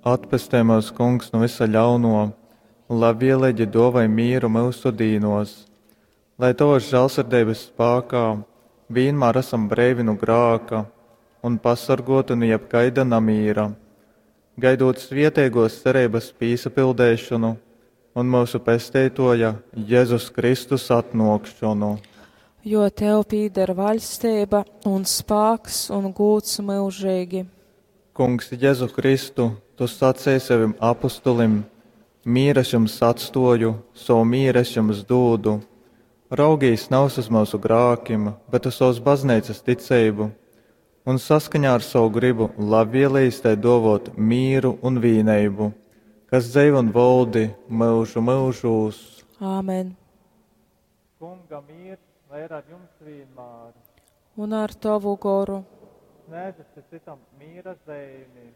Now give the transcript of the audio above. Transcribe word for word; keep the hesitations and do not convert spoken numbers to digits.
Atpestej myus, Kungs, nu vysa ļaunuo un labvieleigi duovoj mīru myusu dīnuos, lai tovys žālsirdeibys spākā vīnmār asam breivi nu grāka un pasorguoti nu jebkaida namīra, gaidūt svieteiguos cereibys pīsapildeišonu un myusu Pesteituoja Jezus Kristus atnuokšonu. Jo tev pīder vaļsteiba un spāks un gūds myužeigi. Kungs Jezu Kristu, tu saceji sovim apustulim: Mīru es jums atstuoju, sovu mīru es jums dūdu. Raugīs navys uz myusu grākim, bet uz sovas bazneicas ticeibu, un saskaņā ar sovu gribu labvielīs tai duovot mīru un vīneibu, kas dzeivo un voldi myužu myužūs. Āmen. Kunga mīrs lai ir ar jums vienmēr. Un ar tavu goru. Sniedzat cytam mīra zeimi.